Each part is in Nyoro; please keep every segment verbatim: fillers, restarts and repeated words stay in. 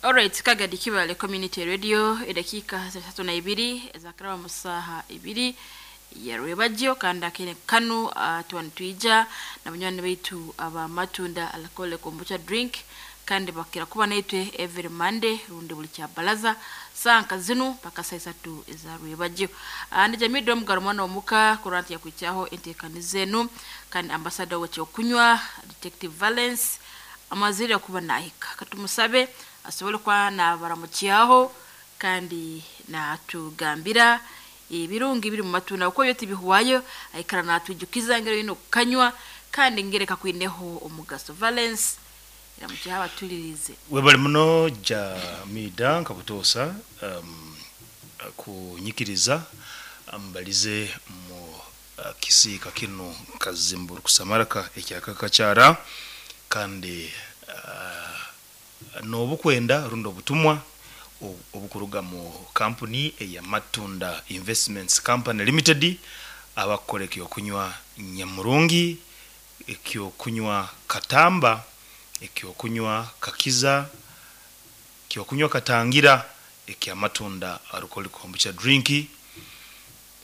Alright, Kagadi Kibale Community Radio, edakika zitatu na ibiri zakaraba musaha ibiri ya rwebagyo kandi akene kanu uh, tuwanitwija na banywani baitu aba Matunda Alcoholic Kombucha Drink kandi bakira kuba naitwe every Monday rundi buli kya balaza sanka zinu paka saa isatu eza rwebagyo. Uh, ndi Jamii Dom Garumwana omuka kuranti ya kuichaho entekani zenu kandi ambassador w'ekyokunywa Detective Valence amazire kuba nahika katumusabe asobole kwa nabaramukyaho kandi natugambira ebirungi biri mu matunda uko byo tibihwayo aikara natwijukiza ngero ino kanywa kandi ngereka kwineho omugaso. Valence iramukyaho abatulirize. Webale muno Jamida nkabutosa um, kunyikiriza ambalize mu uh, kisiika kino kazimburu kusamaraka ekyakakakyara kandi uh, n'obukwenda rundi obutumwa obukuruga mu kampuni eya Matunda Investments Company Limited abakora ekyokunywa nyamurungi, ekyokunywa katamba, ekyokunywa kakiza, ekyokunywa katangira, ekya Matunda Alcoholic Kombucha Drink.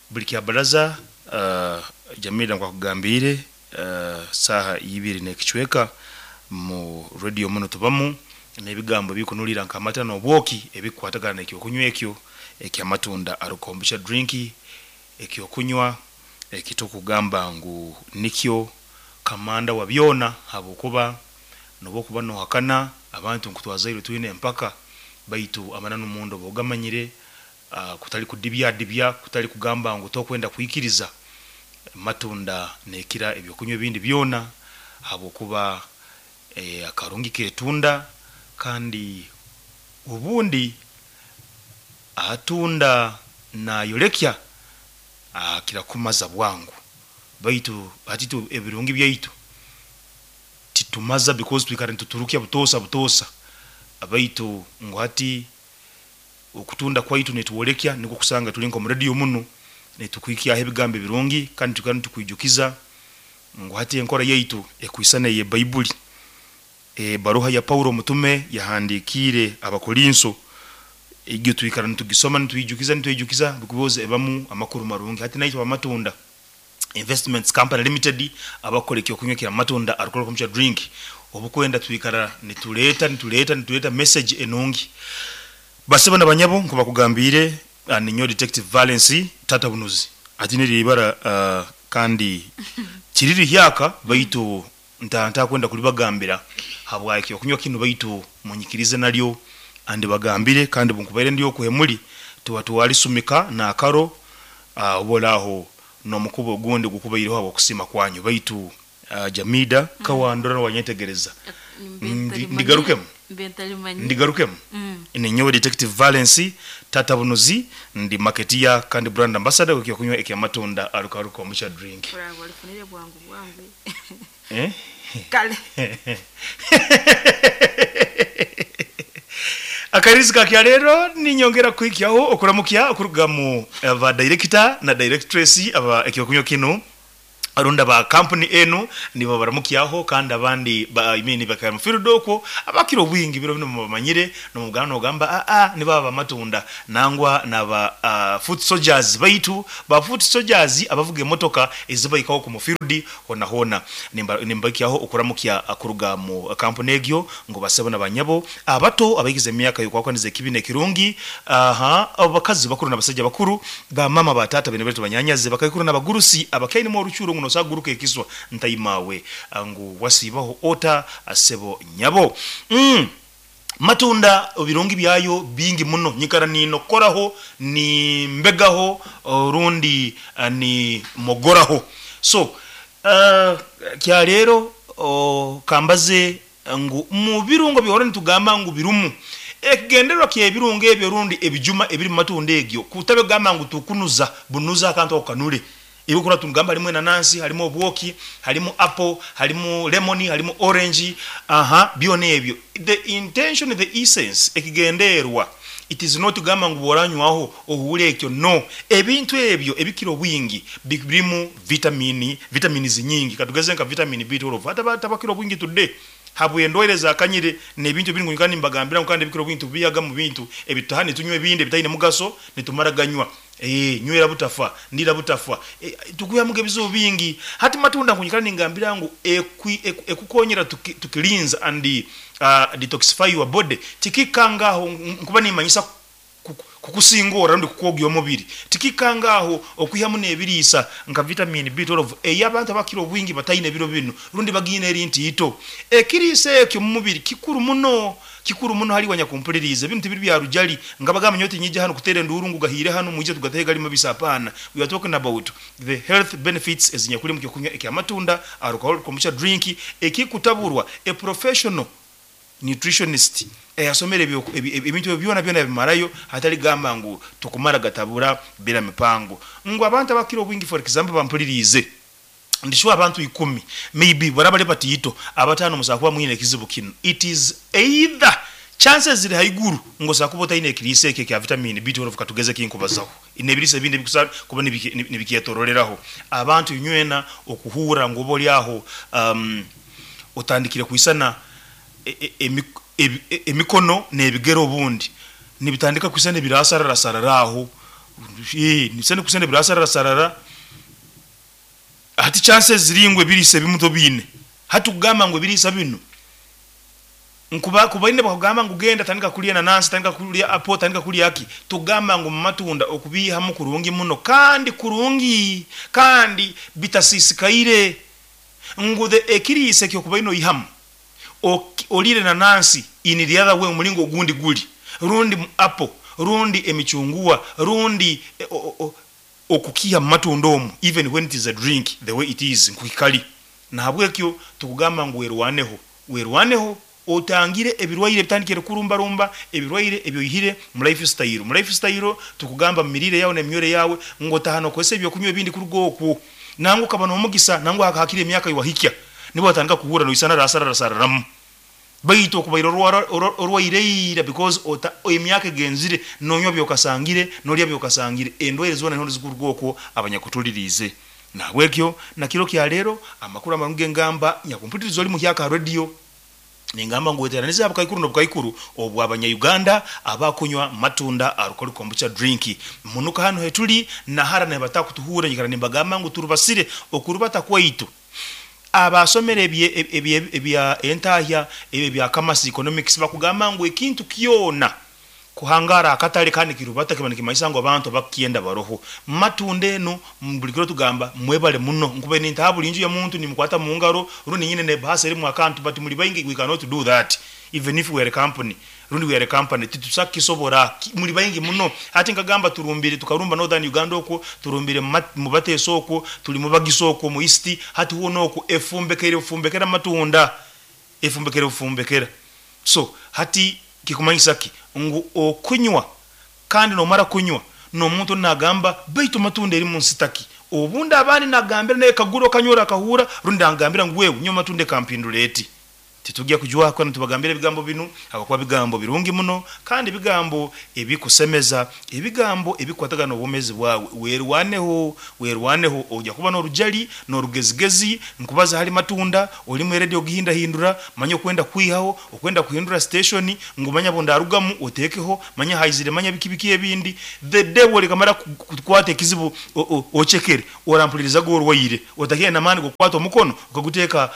Buli kya baraza uh, Jamila nkakugambire uh, saha ibiri n'ekicweka mu radio muno tubamu n'ebigambo bikunulira nkamata n'obwoki ebikwatagana n'ekyokunywa ekyo ekya Matunda Alcoholic Kombucha Drink, ekyokunywa ekitukugamba ngu nikyo kamanda wa byona habwokuba nobokuba nohakana abantu nkutwazaire twine empaka baitu amananu mundo bogamanyire uh, kutali kudibya dibya kutali kugamba ngu tokwenda kuikiriza Matunda nekira ebyokunywa ebindi byona habwokuba eh, akarungi ketunda kandi ubundi atunda nayolekya akira kumaza bwangu baitu atitu ebirungi byaitu titumaza because twikara nituturukia butosa butosa abaitu ngo hati okutunda kwaitu netuwolekya niko kusanga tuli nko mu radio muno netukwikia ebigambo ebirungi kandi tukana tukwijukiza ngo hati enkora yaitu ekwisana ye Baibuli. E baruha ya Paulo mutume yahandikire abakorinso igyo twikara nitugisoma nituijukiza nituijukiza bikuboze ebamu amakuru marungi hati naitwa Matunda Investments Company Limited abakora ekyokunywa kya Matunda Alcoholic Kombucha Drink obukwenda twikara nituleta nituleta nituleta message enungi baseba nabanyabo nko bakugambire ninyo Detective Valence tata bunuzi ati niri ibara uh, kandi kiriri hyaka baitu ntanta kwenda kulibagambira habwa ekyokunywa kino baitu munyikirize nalyo andi bagambire kandi bunkubaire ndiyo kuhemuli tuwa tuwalisumika na akaro uh, obolaho nomukubo ogundi gukubaireho abo kusima kwanyu baitu uh, Jamida mm. kawandora wanyetegereza ndigarukemu ndigarukemu mm. Ninyowe Detective Valence tata bunuzi ndi marketeer kandi brand ambassador ekyokunywa ekya Matunda Alcoholic Kombucha Drink. Bravo, alifunire bwangu bwangu. Eh? Kale. Akarizika kya lero ninyongera kuikyaho okuramukya okuruga mu aba director na directress aba ekyokunywa kino arunda ba company enu nibo baramukyaho kandi abandi ba imini bakaya mu field abakiro bwingi biro bino mubamanyire no mugana no gamba a a ni baba Matunda nangwa naba uh, foot soldiers baitu ba foot soldiers abavuga emotoka ezibayikaho ku field hona hona nimba nimbakyaho okuramukya akuruga mu company egyo ngo basebo nabanyabo abato abayigize emyaka yokwakanize kibine kirungi aha abakazi bakuru nabasajja bakuru ba mama batata bene betu banyanyaze bakayikuru nabagurusi abakaini mu rucuro ngo nosaguruka ekiswa ntaimawe ngu wasibaho ota asebo nyabo mm. Matunda birungi byayo bingi muno nyikara nino koraho ni mbegaho rundi ni mogoraho so uh, kya lero uh, kambaze ngu mu birungo bihora nitugamba ngu birumu ekigendererwa ky'ebirungo ebyo rundi ebijuma ebiri mu matunda egyo kutabe gamba ngu tukunuza bunuza akantu okanule ibukura tungamba harimo nanasi, harimo obwoki, harimo apple, harimo lemon, harimo orange, aha byone ebyo. The intention, the essence ekigenderwa it is not gamba ngu boranywaho ohure ekyo no ebintu ebyo ebikiro bwingi birimu vitamini vitamini zinyingi katugeze nka vitamin B twelve hata tabakiro bwingi today Habwendwaire zakanyire n'ebintu ebiri ngunyikana nimbagambira ngu kandi ebikiro bintu biyaga mu bintu ebitaha nitunywa ebindi ebitaine mugaso nitumara ganywa. Eh, nywera butafa, ndira butafa. E, tukuyamuga ebizibu bingi. Hati matunda nkunyikana ningambira ngu ekukonyera tuki, tukilinza and uh, detoxify your body. Tikikangaho nkuba nimanyisa kukusingora rundi kukogya omubiri. Tikikangaho okwihamu n'ebiriisa nka vitamin B twelve ey'abantu abakira obwingi bataine ebiro bino rundi bagine eri nti ito. Ekiriisa ekyo mu mubiri kikuru muno, kikuru muno hali wanyakumpuliriza. Ebintu tibiri bya rujali nga bagamba nyote nyija hano kutere nduru ngu gahire hano muje tugatege gali mabisa. Hapana, we are talking about the health benefits ezinyakuli mu kyokunywa ekya matunda alcohol kombucha drink ekikutaburwa a professional nutritionist eyasomere ebintu byona byona bimarayo hatali gamba ngu tukumara gatabura bila mipango. Ngu abantu abakira obwingi for example bampulirize ndishwa abantu ikumi maybe barabale batito abatano musakuba mwine kizibu kino. It is either chances ziri haiguru ngo sakuba otaine ekiriisa ekyo kya vitamin B twelve katugeze kinkubazaho inebirisa ebindi bikusa kuba nibikiyetoroleraho abantu nywena okuhura ngo bolyaho um, otandikire kuisana emikono n'ebigero obundi nibitandika kusana ebirasarara sararaho eh nisana kusana ebirasarara sarara. Hati chances ziringwe ebirisa ebimuto bine hatugamba ngo ebirisa bino nkuba kubaine bakugamba ngu genda tandika kulya nanasi, tandika kulya apple, tandika kulya aki. Tugamba ngu matunda okubihamu kurungi muno kandi kurungi kandi bitasisikaire ngu the ekirisa kyo kubaino ihamu olire nanasi in the other way omulingo ogundi guli rundi apple rundi emichungwa rundi okukiha matunda omu even when it is a drink the way it is nkukikali. Na habwekyo tukugamba ngu werwaneho werwaneho otangire ebirwaire bitandikire kurumba rumba ebirwaire ebyoyihire mu lifestyle. Mu lifestyle tukugamba mirire yawe n'emyore yawe ngo tahano kwese ebyokunywa ebindi kurugo okwo nangu kabano omugisa nangu hakakire emyaka yiwahikya nibo batandika kuhura no isana rasarara sararamu baitu okubaira orwaireira because ota emyaka egenzire nonywa byokasangire nolya byokasangire endwaire zona niho zikuruga okwo abanyakutulirize. Nabwekyo nakiro kya leero amakuru amarungi ngamba nyakumpuliriza oli mu kyaka radio ningamba ngu weteranize abukaikuru n'obukaikuru obwa abanya-Uganda abakunywa matunda alcohol kombucha drink munuka hano hetuli nahara nebatakutuhura nyikara nimbagamba ngu turubasire okurubata kwaitu abasomere ebye ebya entahya ebye bya commerce economics bakugamba ngu ekintu kyona kuhangara akatale kandi kirubata kiba nikimaisa ngo abantu bakienda baroho matunda eno bulikiro tugamba mwebale muno nkube nintabu linju ya muntu nimukwata mu ngaro rundi nyine ne bahasa erimu akantu but muri bayingi we cannot do that even if we are a company rundi we are a company titusakisobora muri bayingi muno. Ati nkagamba turumbire tukarumba Northern Uganda okwo turumbire mu Bateso okwo tuli mu Bagiso okwo mu East hati huno okwo efumbekere efumbekera matunda efumbekere efumbekera. So hati kikumanyisa ki ngu okunywa kandi nomara kunywa nomuntu nagamba baitu matunda eri mu nsitaki obundi abandi nagambira naye kaguro kanyora kahura rundi angambira ngu wewe nywa matunda kampinduleti. Titujya kujua kwa tubagambira ebigambo binu abakuba bigambo birungi muno kandi bigambo ebikusemeza ebigambo ebikwatagana obumezi bwawe. Werwaneho werwaneho ojya kuba n'orujali n'orugezigezi nkubaza hali matunda oli mu radio gihinda hindura manya kwenda kwihaho okwenda kuhindura station ngumanya bondarugamu otekeho manya haizire manya bikibiki ebindi the devil kamara kukwata ekizibu ochekere orampuliriza go orwaire otakiye namani gokwata omukono ukaguteka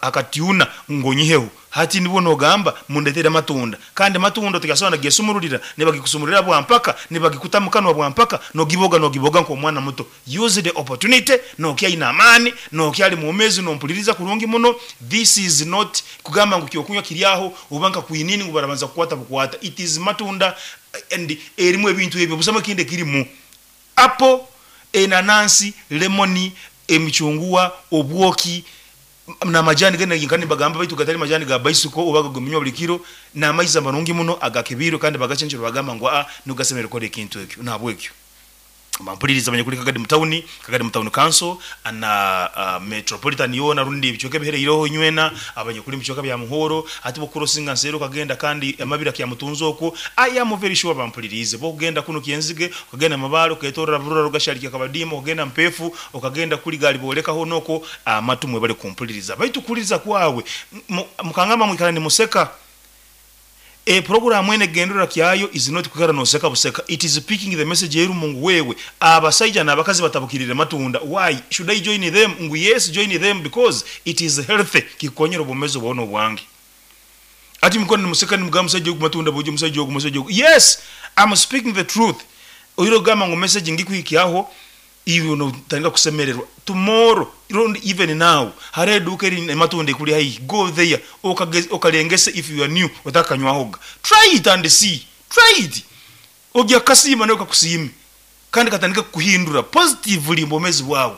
akatiuna ngonyihe hati nibo nogamba mundetere matunda kandi matunda tugasona gesumurulira nebagikusumurira bwa mpaka nebagikutamukanwa bwa mpaka nogiboga nogiboga nko mwana muto. Use the opportunity nokia ina amani nokia ali muomezi nompuliriza kurungi muno. This is not kugamba ngu kyokunywa kiryaho ubanka kuinini ngubarabanza kukwata bukwata. It is matunda and erimu ebintu ebyo busama kinde kirimu apple enanansi lemoni emichungwa obwoki na majani gena yinkani bagamba baitu gatali majani ga bicycle obaga gumnywa buli kiro na amaizi amarungi muno agakebiro kandi bagachenjero bagamba ngo a nugasemere kore kintu ekyo nabwekyo. Bampuliriza abanyakuli Kagadi mutawuni, Kagadi Mutawuni Council na uh, metropolitan yona rundi ebicweka ebihereireho nywena abanyakuli mubicweka bya Muhoro ati bokurosinga nsero kagenda kandi amabira kya mutunzo okwo. I am very sure bampulirize bokugenda kuno Kyenzige, okagenda Mabalo, oketorora Burora, Rugashariki, Akabadimu, okagenda Mpefu, okagenda kuli gali bolekaho noko amatumwe bali kumpuliriza. Baitu kuliriza kwawe mukangamba mwikala ni museka. E program ene gendera kyayo is not kukara no seka buseka, it is picking the message yeru Mungu wewe abasajja n'abakazi batabukirire matunda. Why should I join them? Ngu yes, join them because it is healthy, kikonyera obumezo bwono bwange. Ati mkono ni museka ni mugamba musajja matunda buje musajja musajja. Yes, I'm speaking the truth. Oyiro gamba ngo message ngikuikiaho iwe no tanga kusemererwa tomorrow even now hare duka eri matunda kuli hai, go there okalengese if you are new otakanywahoga, try it and see, try it ojya kasima nayo kakusime kandi katandika kuhindura positively mbomezi bwawe.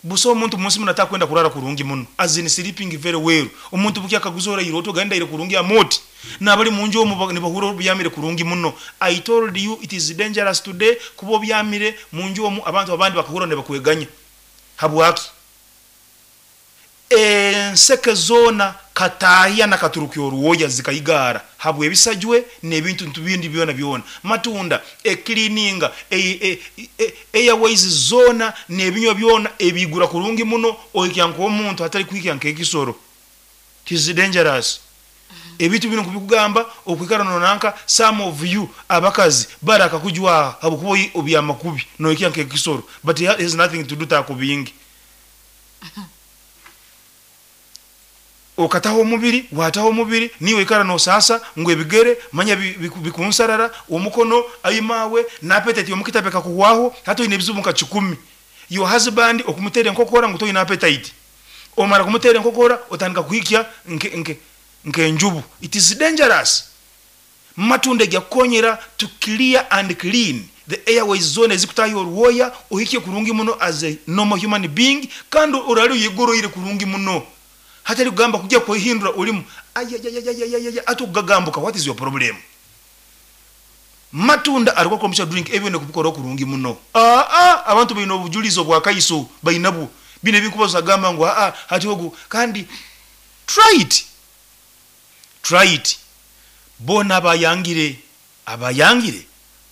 Buso omuntu munsi munataka kwenda kurara kurungi muno, as in sleeping very well. Omuntu buki akaguzora iroto ganda ile kurungi amoti nabali munjo omu nibahura byamire kurungi muno. I told you it is dangerous today kubo byamire munjo omu abantu abandi bakahura ne bakweganya habwaki enseke zona katahia na katurukyo ruwoya zikaigara habwe ebisajwe n'ebintu ntubindi byona byona matunda e cleaninga e airways zona n'ebinywa byona ebigura kurungi muno oikyanko omuntu atali kwikyanka ekisoro. It is dangerous. Ebintu bino kubikugamba okwikara nonanka some of you abakazi baraka kujwa habukubo obyamakubi noikyanka ekisoro, but it has nothing to do takubingi. Okataho omubiri wataho omubiri niwe ikara no sasa ngo ebigere manya bikunsarara omukono ayimawe na appetite omukitabe kakuwaho hato ine bizubu nka kikumi. Your husband okumutere nkokora ngo toyina appetite, omara kumutere nkokora otandika kuhikya nke nke nke njubu. It is dangerous. Matunda yakonyera to clear and clean the airways zone ezikutayo oruwoya ohikye kurungi muno as a normal human being, kandi orali yigoroire kurungi muno hatari kugamba kujya kuhindura ulimu ayayayayayaya atugagambuka. What is your problem? Matunda alikuwa komsha drink ebyo ne kubikora kurungi muno. Ah ah abantu bayina obujulizo bwa kaiso bayinabu bine bikubaza gamba ngo ah hati ogu kandi try it, try it. Bona abayangire abayangire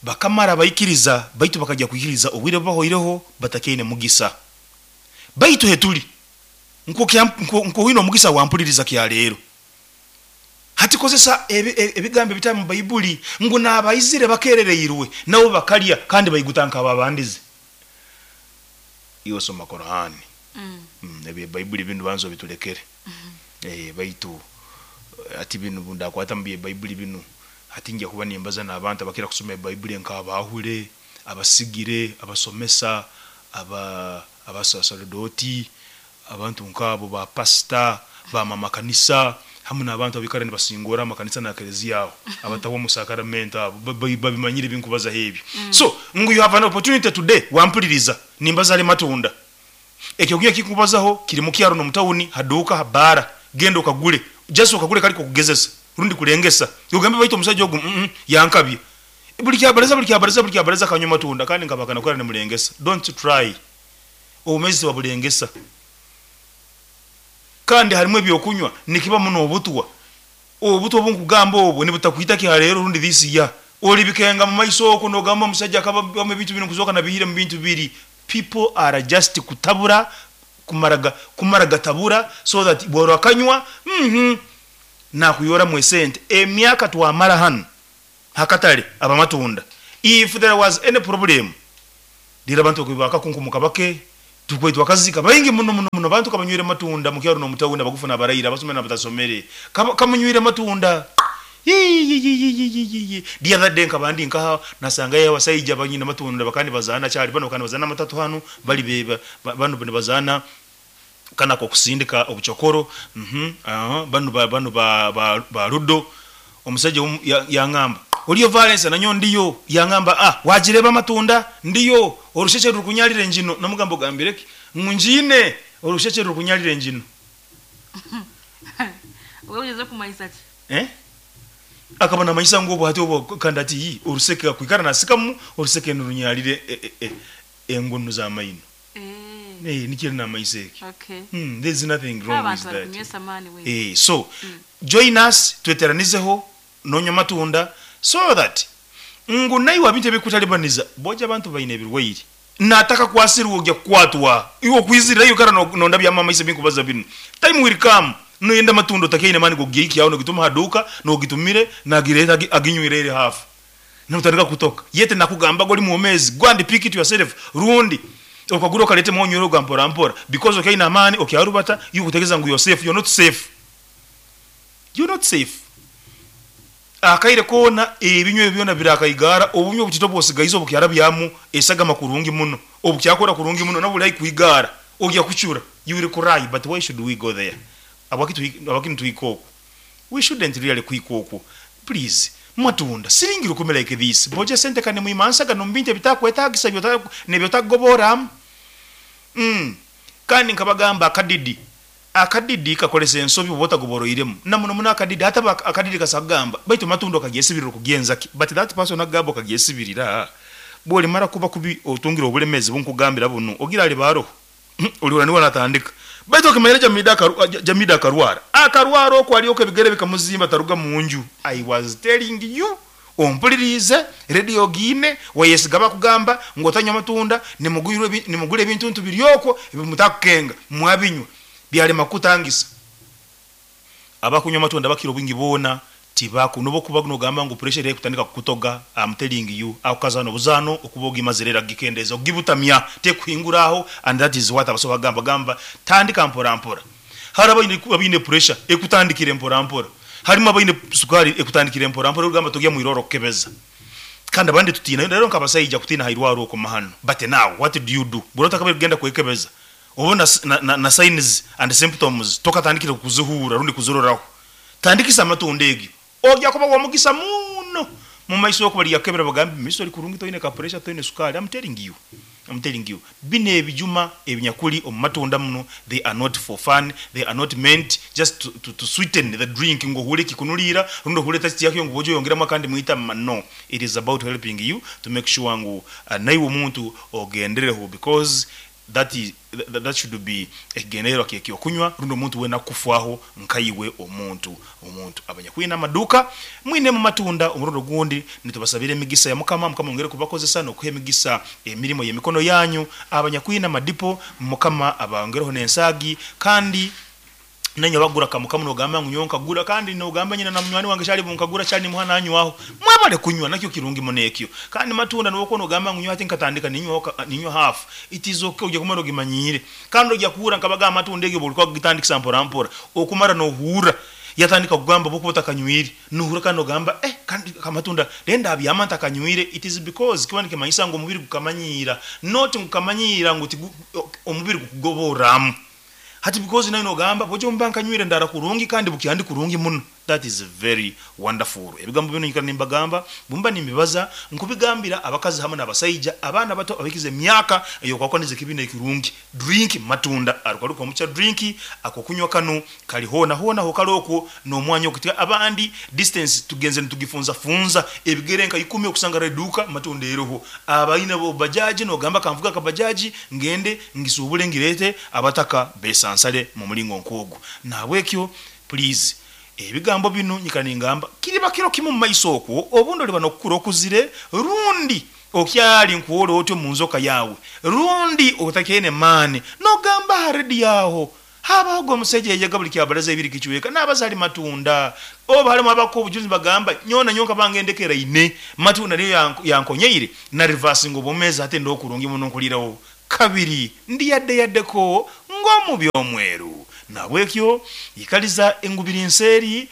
bakamara bayikiriza baitu bakajya kuyikiriza obwire bahoireho batakene mugisa baitu hetuli nko nko wino mugisa wampuliriza kya leero hati kozesa ebigambo bitali mu Bayibuli ngo nabayizire bakerereirwe nabo bakalya kandi bayigutanka ababandize. Iyo soma Qur'ani mm. mm, ebye Bayibuli bintu banzo bitulekere mm -hmm. Eh baitu ati binu bunda kwata mu Bayibuli binu ati ngiye kuba nimbaza n'abantu abakira kusoma Bayibuli nk'abahule abasigire abasomesa aba abasaserdoti abantu nkabo ba pastor ba mama kanisa hamwe n'abantu abikara nibasingora amakanisa na kelezia aho abatawo musakaramento abo babimanyire binkubaza hebyo. Mm. So ngu you have an opportunity today wampuliriza nimbaza ale matunda ekyo kiye kikubazaho kiri mu kyaro no mutawuni haduka habara genda okagule just okagule kaliko kugezesa rundi kulengesa ugambe baito omusajja ogu mm -mm, yankabye buli kyabaleza buli kyabaleza buli kyabaleza kanywa matunda kandi nkabakana kwera ne mulengesa. Don't try omezi wa bulengesa kandi harimu ebyokunywa nikiba muno obutwa obutwa obunkugamba obwo nibutakwita ki halero rundi this year oli bikenga mu maiso oko nogamba omusajja akaba mu bintu bino kuzoka na bihire mu bintu biri. People are just kutabura kumaraga kumaraga tabura so that bworo akanywa mhm na kuyora mwesente emyaka twamara hano hakatale abamatunda. If there was any problem dira abantu kubaka kunkumuka bake tukwetwa akazika baingi muno muno muno bantu kabanywire matunda mukyaro no mutawuna bagufuna barayira abasomera nabatasomere kamunywire matunda yi the other day nkabandi nkaha nasanga ya wasayija banyina matunda bakandi bazana cyari bano kandi bazana matatu hano bali beba bano bano bazana kana ko kusindika obuchokoro mhm aha bano ba bano ba ba rudo omusajja yangamba oliyo violence nanyo ndiyo yangamba ah wajireba matunda ndiyo orusheshe rukunyalire njino namugambo gambireki ngunjine orusheshe rukunyalire njino wewe ugeze kumanyisa ki eh Akabona maisha ngo bwati obo kandi ati yi oruseke akwikara nasikamu oruseke nurunyalire e, e, e, engunu za maino. Eh. Eh, nikiri na maiseke. Okay. Hmm, there's nothing wrong with Abantu that. barikunywesa amaani we. Eh, so join us, tweteranizeho nonywa matunda so that ngu naiwe abintu ebikutalibaniza boja abantu baine ebirwaire nataka kwasirwa ojja kukwatwa iwe okwizirira iyo kara no- nonda bya mama ise binkubaza bino. Time will come noyenda matunda otakeine mani gogeiki aho nogituma haduka nogitumire nagireta agi- aginywirere hafu notandika kutoka yete nakugamba goli muomezi, go and pick it yourself, rundi okagura okalete mwonywero gwa mpora mpora because okaina amani okyarubata you kutegeza ngu you're safe. You're not safe, you're not safe. Akaire kona ebinywe byona birakaigara obunywe butito bwosigaizo obukyara byamu esagama kurungi muno obukyakora kurungi muno nabuli kuigara ogya kuchura, you will cry. But why should we go there? Abakitu abakintu tuikoko, we shouldn't really kuikoko. Please, matunda siringi rukumi like this, boje sente kane muimansaga nombinte bitakwetagisa byota nebyotagobora. mm. Kandi nkabagamba akadidi akadidi kakolesa ensobi bw'oba otagoboroiremu namuno muno akadidi ate aba- akadidi kasagamba baitu matundo kagyesibirira okugenza ki, but that person agamba okagyesibirira bwolimara kuba kubi otungira obulemezi bunkugambira buno ogira ali baroho olihura niwe natandika baitu okimanyira Jamida akaru- Ja- jamida akarwara akarwara okwo alioka ebigere bikamuzimba taruga munju. I was telling you, ompulirize radio giine wayesiga bakugamba ng'otanywa matunda nimugwirwe ebi- nimugule ebintu biryokwo ebimutakukenga mwabinywa byalema kutangisa. Abakunywa matunda bakira obwingi boona tibaku nobo kuba nogamba ngu pressure ekutandika kukutoga. I'm telling you, akukazano obuzano okuba ogimazirera gikendeza ogibutamya tekuhinguraho, and that is what abaso bagamba gamba tandika mpora mpora. Hari abaine abaine pressure ekutandikire mpora mpora, harimo abaine sukari ekutandikire mpora mpora ogamba togya mwiroro kukebeza kandi abandi tutina rero nkabasayija kutina hairwaro okwo mahano. But now what do you do burota kabe kugenda kwekebeza obona s- na, na, na signs and symptoms tokatandikire kuzuhura rundi kuzuroraho? Tandikisa amatunda egyo ojja kuba wamugisa muno mu maiso okuba lyakebera bagambe miso oli kurungi toine ka pressure toine sukari. I'm telling you, I'm telling you, bino ebijuma ebinyakuli omu matunda muno, they are not for fun. They are not meant just to, to, to sweeten the drink ngohule kikunulira rundi ohule taste yakyo ngu bojo yongeramo kandi mwita ma. No, it is about helping you to make sure ngu uh, naiwe omuntu ogendereho because that is that, that should be ekigendererwa kyekyokunywa rundi omuntu wena kufwaho nkaiwe omuntu omuntu abanyakwina amaduka mwine mu matunda omurundi ogundi nitubasabira emigisa ya Mukama. Mukama ongere kubakozesa nokuha emigisa emirimo y'emikono yanyu. Abanyakwina amadipo, Mukama abangereho n'ensaagi kandi nenye bagura kamukamu nogamba ngu nyowe nkagura kandi nogamba nyina na munywani wange kyali bunkagura kyali nimuha nanywaho mwabale kunywa nakyo kirungi muno ekyo. Kandi matunda nobwo nogamba ngu nyowe ati nkatandika ninywa ninywa half, it is okay, ojja kumara ogimanyire kandi ojja kuhura nkabaga amatunda egyo buli kwagitandikisa mpora mpora okumara nohura yatandika kugamba bokuba otakanywire nuhura kandi ogamba eh kandi kamatunda lenda abyama ntakanywire. It is because kiba nikimanyisa ngu omubiri gukamanyira, not ngukamanyira ngu tigu- omubiri gukugoboramu hati because nayo nogamba bojo mba nkanywire ndara kurungi kandi bukyandi kurungi muno. That is very wonderful. Ebigambo bino nyikara nimbagamba bumba nimbibaza nkubigambira abakazi hamwe n'abasaija abaana bato abikize emyaka eyokwakwaniriza ekibina ekirungi drink matunda arukaruka omucha drink ako kunywa kano kali hona hona hokali okwo n'omwanya okutika abandi distance tugenze nitugifunza funza ebigere nka ikumi okusanga reduka matunda eroho abaina bo bajaji nogamba kamvuga kabajaji ngende ngisubule ngirete abataka besansale mu mulingo nkogu. Nabwekyo please ebigambo bino nyika ningamba kiriba kiro kimu mu maiso okwo obundi oliba nokukura okuzire rundi okyali nkuwola otyo mu nzoka yawe rundi otakene maani nogamba haredi yaho habaho gwe omusajja yajjaga buli kyabalaza ebiri kichweka n'abazali matunda oba halimu abako obujulizi bagamba nyona nyonka bangendekera ine matunda niyo yank- yankonyeire na reversing obwomeezi ate ndokurungi muno nkulirawo kabiri ndi yadde yaddeko ng'omubi omweru. Nabwekyo ikaliza engubiri nseeri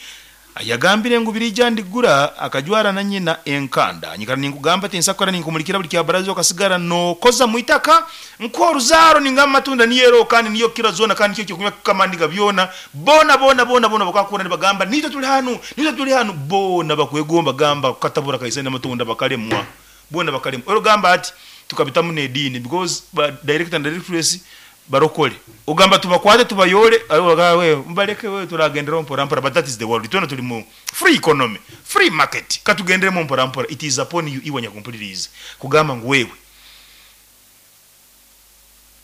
yagambire engubiri ija ndigura akajwara na nyina enkanda nyikara ninkugamba tinsakora ninkumulikira buli kyabaraza okasigara nokoza mwitaka nkoruzaaro ningamba matunda niyero kandi niyo kira zona kandi kyo kyokunywa kamandiga byona bona bona bona bona bakakura nibagamba nitwe tuli hanu nitwe tuli hanu bona bakwegomba gamba katabura kaise n'amatunda bakalemwa bona bakalemwa orugamba ati tukabitamu n'ediini because ba director and directress Barokole ogamba tubakwate tubayole, we mbaleke, we turagendera mpora mpora. But that is the world. Twena tuli mu free economy, free market, katugenderemo mpora mpora. It is upon you, iwe nyakumpuliriza, kugamba ngu wewe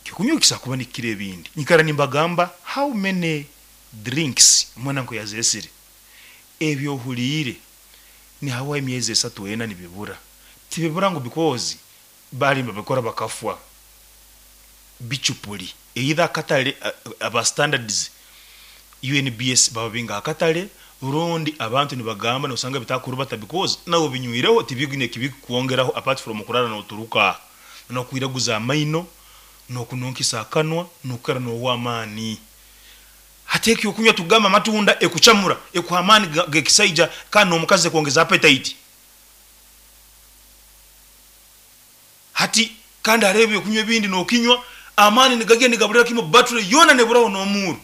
kikunyukisa kuba nikire ebindi. Nyikara nimbagamba how many drinks mwana nko yaziresire ebyo ohuliire ni hawa emyezi esatu ena nibibura. Tibibura ngu because bali babikora bakafwa bichupuli either akatale, aba standards U N B S baba binga akatale, rundi abantu nibagamba nosanga bitakurubata because nawe binywireho tibigine kibikuongeraho apart from kurara noturuka nokwiraguza amaino nokununkisa akanwa nokukara nowamani. Hateki okunywa tugamba matunda ekuchamura ekuhamani gekisaija kandi omukazi kuongeza appetite. Hati kandi arebe okunywa ebindi nokinywa amani nigagenda nigabulira kimo battery yona neburaho nomuru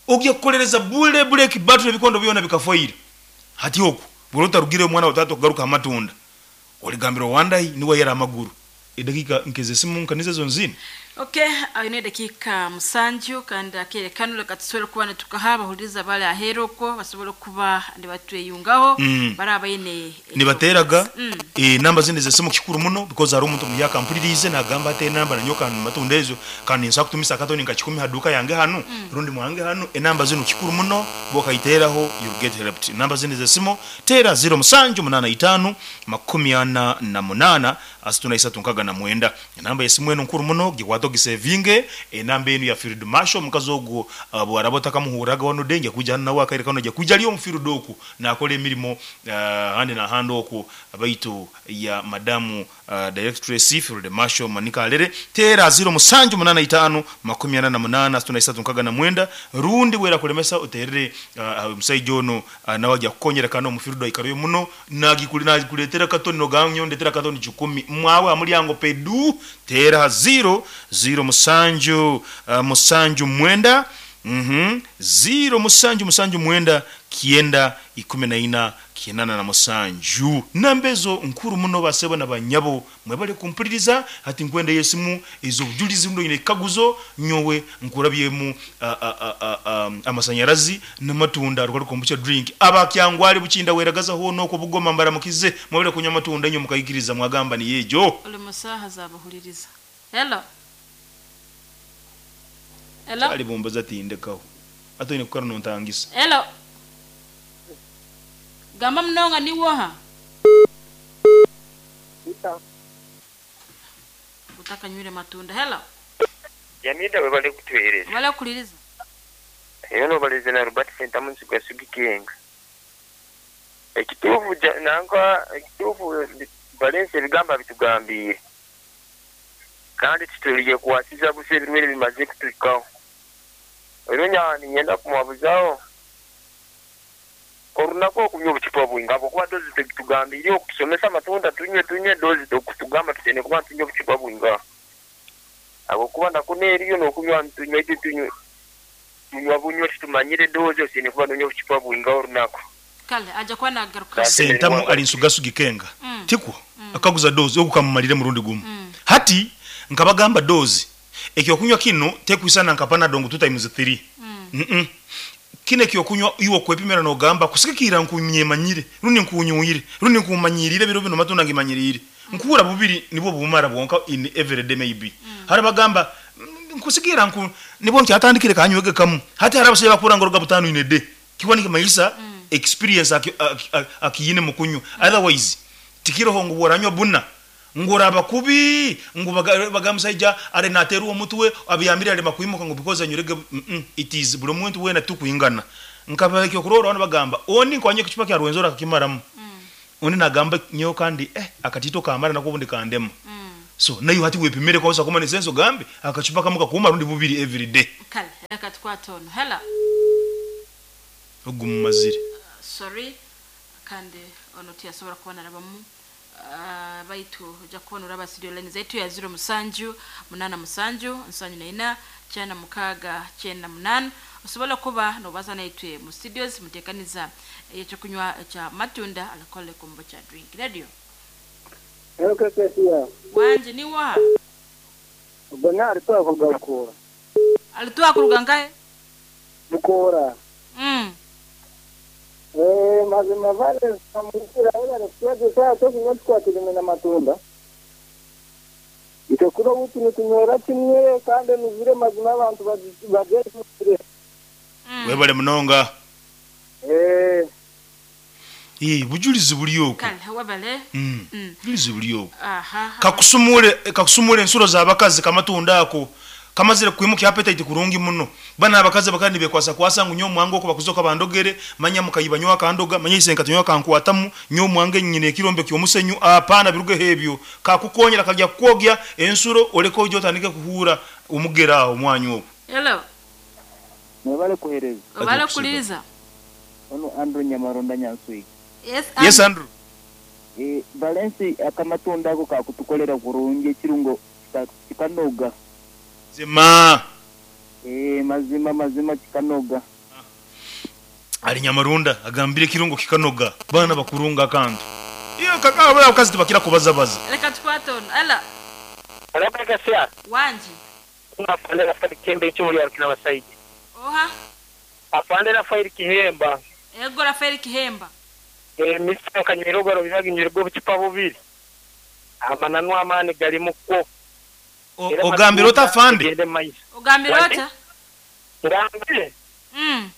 ogye kukolereza bule break battery bikondo byona bikafoira. Hati oku burota rugire omwana watatu kugaruka amatunda oligambira wandai niwe yera amaguru edakika nkeze simu nkanize zonzini. Okay, ayine dakika musanju kandi akerekano leka tusubire kuba netukahaba huliriza bale aheroko basobole kuba ndibatweyungaho mm. Baraba ine nibateraga mm. E namba zine zesimu kikuru muno because hari omuntu muyaka mpulirize nagamba ate namba nanyoka matunda ezo kandi nsa kutumisa akatoni nka kikumi haduka yange hanu mm. Rundi mwange hanu enamba zino kikuru muno bokaiteraho you get helped. Namba zine zesimu tera zero musanju munana itano makumi ana na munana asituna isatu nkaga na mwenda. Enamba yesimu eno nkuru muno giwato gisevinge enamba enu ya Field Marshal mukazi ogwo uh, bwarabota kamuhuraga wano denge kuja nawe akaire kano ja kuja liyo mfield oku nakola emirimo uh, hande na hande oku abaitu ya madamu uh, directress Field Marshal Manika Alere tera zero musanju munana itano makumi ana na munana asituna isatu nkaga na mwenda. Rundi wera kulemesa uterere uh, musaijo ono uh, nawe ajya kukonyera kano mufield aikariyo muno nagikuli nagikuletera katoni noganyo ndetera katoni kikumi mwawe amulyango pedu tera zero zero musanju uh, musanju mwenda mhm zero musanju musanju mwenda kienda ikumi na ina kienana na musanju. Nambezo nkuru muno basebo na banyabo mwebale kumpuliriza. Hati nkwenda yesimu ezo bujulizi ndo ine kaguzo nyowe nkurabyemu amasanyarazi n'amatunda rwari kombucha drink abakyangwali bukinda weragaza ho no kubugoma mbaramukize mwebale kunywa amatunda nyo mukayikiriza mwagamba ni yejo uli musaha zabahuliriza. Hello. Hello. Ali bombaza tindekaho ato ine kukara nontangisa. Hello. Gamba mnonga ni woha. Utaka nywele matunda. Hello. Jamida we bale kutuhereza. Wala kuliriza. Eyo baleze na Robert Sentamu nsiga sugikenga. Ekitufu nanka ekitufu balese bigamba bitugambiye. Kandi tutuliye kuwasiza buse birwere bimaze kutukaho. Eronya ninyenda kumwabuzaho. Orunako okunywa obucupa bwinga kuba dozi tugambiriye okutusomesa amatunda tunywe tunywe dozi okutugamba tutene kuba tunywe obucupa bwinga. Abo kuba ndakuneriyo n'okunywa tunywe tunywe tunywa bunywe tutumanyire dozi osene kuba tunywe obucupa bwinga orunako. Kale aja kwa nagaruka. Sentamu ali nsugasugi kenga. Mm. Tikwo mm. Akaguza dozi okukamumalire murundi gumu. Mm. Hati nkabagamba dozi ekyo kunywa kino tekwisana nkapana dongo two times three. Mm. Mm -mm. Kine kyo kunywa iwo kwepimera no gamba kusikikira nkunyemanyire rundi nkunyuire rundi nkumanyirire biro bino matunda ngimanyirire nkura bubiri nibo bumara bwonka in every day maybe mm. Harabagamba nkusikira nku nibo nkyatandikire kanywege kamu hati harabashe bakura ngoroga butano in a day kiwani kimaisa mm. Experience akiyine mukunyu mm. Otherwise tikiroho ngo boranywa buna ngora bakubi ngo bagamusaija are nateru omutwe abiyambira ale makuimuka ngo because anyurege mm -mm, it is buli muntu wena tukuingana nkaba kyo kurora wana bagamba oni nkwanye kuchupa kya Rwenzori akakimaramu mm. Oni nagamba nyo kandi eh akatito kamara nakubundi kandema mm. So nayo hati wepimere kwa usakoma ni senso gambe akachupa kamuka kuma rundi bubiri every day. Kale akatwatono hela ogumazire uh, sorry kandi ono tiyasobora kubona rabamu Uh, baitu ojja kubona uraba studio line zaitu ya zero musanju munana musanju nsanju na ina chana mukaga chenda munana osobola kuba nobaza naitwe mu studios mutekaniza ekyo kunywa cha matunda alcoholic kombucha drink radio. Hello Kesia. Wanje ni wa Bernard twavugakura. Alituwa kuruga nkahe? Bukora. Mm. Eh, mazima vale samukira ila nikuwaje saa tokunywa tukwatire na matunda. Itekuro butu nitunywera kimwe kandi nuzire mazima abantu bageze. Mm. Webale munonga. Eh, Eh, bujulizi buli okwo. Kale webale. Mm. Mm. Bujulizi buli okwo. Aha. Kakusumule kakusumule ensuro z'abakazi kamatunda ako. Kamazire kwimuka appetite kurungi muno. Bana abakazi bakandi bekwasa kwasa ngu nyo mwango ko bakuzoka bandogere manya mukayiba nywa kandoga manya isenka tunywa kankwatamu nyo mwange nyine ekirombe kyomusenyu apana biruge hebyo kakukonyera kajya kwogya ensuro oleko ujyo otandike kuhura umugera aho mwanyu okwo. Hello. Mwebale kuhereza. Webale kuliriza. Ono Andrew Nyamaronda Nyansui. Yes, Yes Andrew. Eh, Valence akamatunda ako kakutukolera kurungi ekirungo kikanoga. Zima. Eh, mazima mazima kikanoga. Ali Nyamarunda agambire kirungo kikanoga bana bakurunga kantu. Iyo kaka baba kazi tubakira kubazabaza. Reka tukwate ono. Ela. Alabeka sia. Wanji. Afande Rafael Kembe icyo ya kina basaidi. Oha. Afande Rafael Kihemba. Ego Rafael Kihemba. Eh, Mister Kanyero garo bizaga inyirgo bucipa bubiri. Amananu amani gari mukwo. Ogambira ota afande? Ogambira ota? Ngambire. Mm.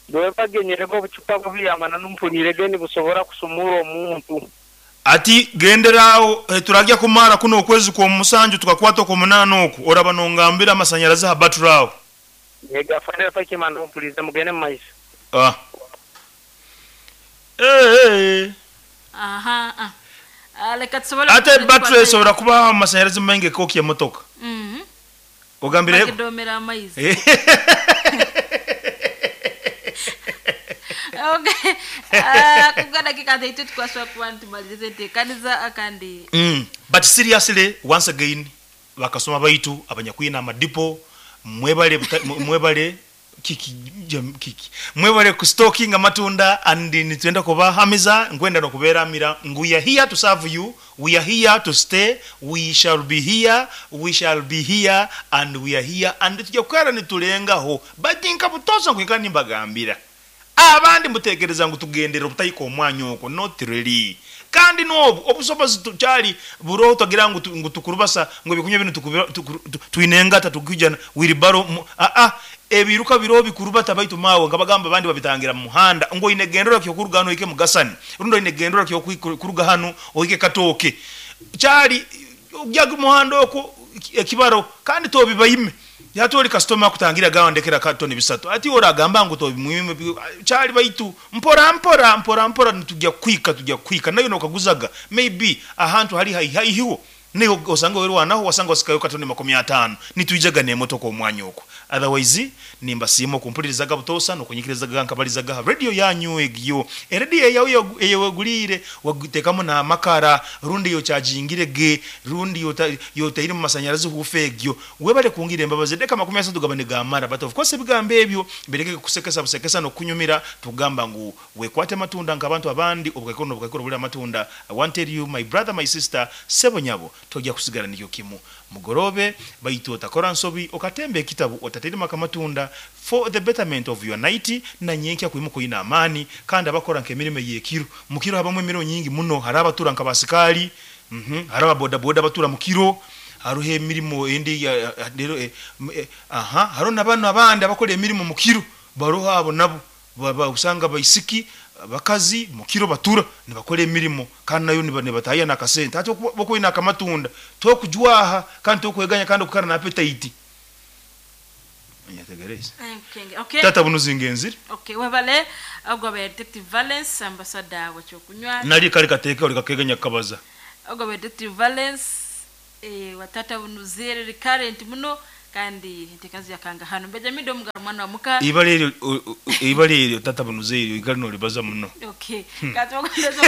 Dwe bagenyerego bucipa bubiri amananu mpulire geni busobora kusumura omuntu. Ati genderao eh, turajya kumara kuno okwezi kwa musanju tukakwata ko munano oku oraba nongambira amasanyarazi ha baturao. Yega afande Rafael Kihemba mpulirize mugende maiso. Ah. Eh eh. Aha ah. Aleka tusobole ate battery sobora kuba amasanyarazi menge koki ya motoka. Mhm. Ogambire bakidomera amaizi. Okay. Ah, kugana kikathe itu tukwaswa kuba ntumalize ntekaniza akandi. Mm. But seriously once again bakasoma baitu abanyakwina amadipo mwebale mwebale kiki jam, kiki mwebale ku stocking amatunda and nitwenda kubahamiza ngwenda no kuberamira we are here to serve you, we are here to stay, we shall be here, we shall be here and we are here and tujya kwera nitulengaho batinka butoza nkwika nimbagambira abandi mutekereza ngo tugendera obutayiko omwanya okwo not really kandi nobu obusobozi tukyali buroho tagira ngo ngo tukurubasa ngo bikunywe bino tuinengata tukujana wiribaro a a ebiruka biro bikurubata baitu mawe ngabagamba abandi babitangira mu muhanda ngo inegendera kyo kurugano ike mugasani rundo inegendera kyo kuruga hano oike katoke cyali ujyaga umuhanda okwo ekibaro kandi tobibayime yatori customer kutangira gawandekera katoni bisatu ati oragamba ngo tobimwime cyali baitu mpora mpora mpora mpora tujya kwika tujya kwika nayo nokaguzaga maybe ahantu hari haihiwo niyo osanga weru wanaho wasanga osikayo katoni makumi atano nituijaga ne motoko omwanya okwo otherwise nimba simo kumpulirizaga butosa no kunyikirizaga nkabalizaga radio yanyu egyo radio yawe eyewegulire wagutekamo na makara rundi yo chargingire ge rundi yo yotaire mu masanyarazi hufegyo webale kungira embabazi deka makumi asatu gabane gamara but of course bigambe ebyo bereke kusekesa busekesa no kunyumira tugamba ngu wekwate matunda nkabantu abandi obukaikono obukaikono buli amatunda. I want tell you my brother my sister sebonyabo tojya kusigara nikyo kimu mugorobe baitu otakora nsobi okatembe ekitabu otaterima kamatunda for the betterment of your night na nyenkya kuimuko ina amani kandi abakora nkemirimo yekiro mukiro habamwe emirimo nyingi muno harabatura nkabasikali mhm mm haraba boda boda batura mukiro haruhe emirimo endi rero eh, eh, aha haro nabano abandi abakora emirimo mukiro baroha abo nabo baba usanga baisiki bakazi mukiro batura nibakora emirimo kandi nayo nibataya nakasente ati boko ina kamatunda tokujwaha kandi tokweganya kandi okukara na appetite nyategereza. Okay, okay. Tata bunuzinga Okay, webale agwa ba Detective Valence ambassador wa kyokunywa nali kali kateka oli kakeganya kabaza agwa ba Detective Valence eh watata bunuzere recurrent muno kandi ntekazi yakanga hano Benjamin do mugaro mwana wa muka ibale ibale tata bunuzere ikali no libaza muno okay. Katwa kondeza